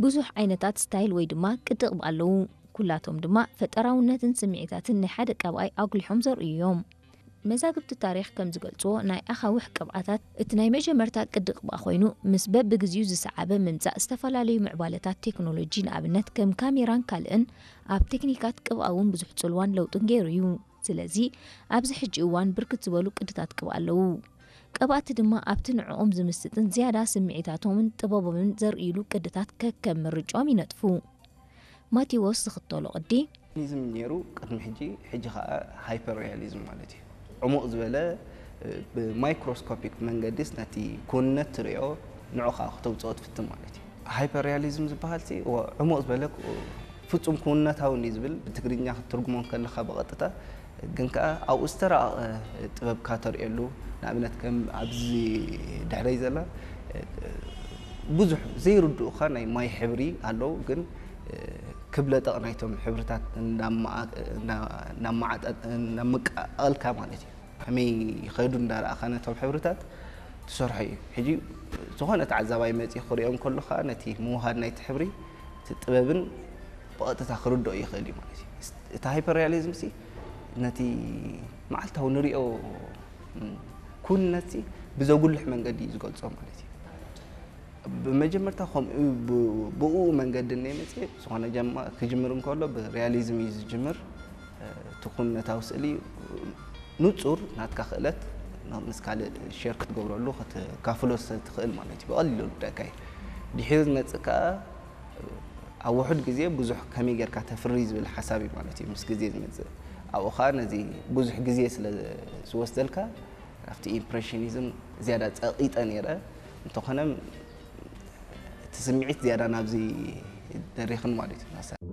ብዙሕ ዓይነታት ስታይል ወይ ድማ ቅዲ ቅብኣ ኣለዉ። ኩላቶም ድማ ፈጠራውነትን ስምዒታትን ናይ ሓደ ቀብኣይ ኣጉሊሖም ዘርእዩ እዮም። መዛግብቲ ታሪኽ ከም ዝገልጽዎ፣ ናይ ኣኻውሕ ቅብኣታት እቲ ናይ መጀመርታ ቅዲ ቅብኣ ኮይኑ፣ ምስ በብግዜኡ ዝሰዓበ ምምጻእ ዝተፈላለዩ ምዕባለታት ቴክኖሎጂ፣ ንኣብነት ከም ካሜራን ካልእን፣ ኣብ ቴክኒካት ቅብኣ እውን ብዙሕ ጽልዋን ለውጥን ገይሩ እዩ። ስለዚ ኣብዚ ሕጂ እዋን ብርክት ዝበሉ ቅድታት ቅብኣ ኣለዉ። ቀባእቲ ድማ ኣብቲ ንዕኦም ዝምስጥን ዝያዳ ስምዒታቶምን ጥበቦምን ዘርእይሉ ቅድታት ከከም ምርጫኦም ይነጥፉ። ማቴዎስ ዝኽተሎ ቅዲ። ሪያሊዝም ነይሩ ቅድሚ ሕጂ፣ ሕጂ ከዓ ሃይፐር ሪያሊዝም ማለት እዩ። ዕሙቕ ዝበለ፣ ብማይክሮስኮፒክ መንገዲስ ነቲ ክውንነት ትሪኦ፣ ንዑ ከዓ ክተውፅኦ ትፍትን ማለት እዩ። ሃይፐር ሪያሊዝም ዝበሃል ሲ ዕሙቕ ዝበለ፣ ፍጹም ክውንነታዊ እዩ ዝብል። ብትግርኛ ክትትርጉሞ ከለኻ ብቐጥታ ግን ከዓ ኣብኡ ዝተራቐቐ ጥበብካ ተርእየሉ። ንኣብነት ከም ኣብዚ ድሕረይ ዘላ ብዙሕ ዘይርድኡኻ ናይ ማይ ሕብሪ ኣለዉ፣ ግን ክብለጠቕ ናይቶም ሕብርታት እናመዓጠ እናመቃቐልካ ማለት እዩ። ከመይ ይኸዱ እንዳረኣኻ ነቶም ሕብርታት ትሰርሖ እዩ። ሕጂ ዝኾነ ተዓዛባይ መፂኡ ክሪኦ እንከሎ ከዓ ነቲ ምውሃድ ናይቲ ሕብሪ እቲ ጥበብን ብቐጥታ ክርድኦ ይኽእል እዩ ማለት እዩ። እቲ ሃይፐር ሪያሊዝም ሲ ነቲ መዓልታዊ ንሪኦ ኩንነት ሲ ብዘጉልሕ መንገዲ እዩ ዝገልጾ ማለት እዩ። ብመጀመርታ ከምኡ ብኡ መንገዲ እነ መፅእ ዝኾነ ጀማ ክጅምር እንከሎ ብሪያሊዝም እዩ ዝጅምር። እቲ ኩነታዊ ስእሊ ንጹር ናትካ ክእለት ምስ ካልእ ሸር ክትገብረሉ ክትካፍሎ ትኽእል ማለት እዩ። ብቐሊሉ ልደካ እዩ። ድሒሩ ዝመፅእ ከዓ ኣብ ውሑድ ግዜ ብዙሕ ከመይ ጌርካ ተፍሪ ዝብል ሓሳብ እዩ ማለት እዩ። ምስ ግዜ ዝመፅእ ኣብኡ ከዓ ነዚ ብዙሕ ግዜ ስለ ዝወስደልካ ኣብቲ ኢምፕሬሽኒዝም ዝያዳ ጸቒጠ ነይረ። እንተኾነ እቲ ስምዒት ዝያዳ ናብዚ ደሪኽን ማለት እዩ።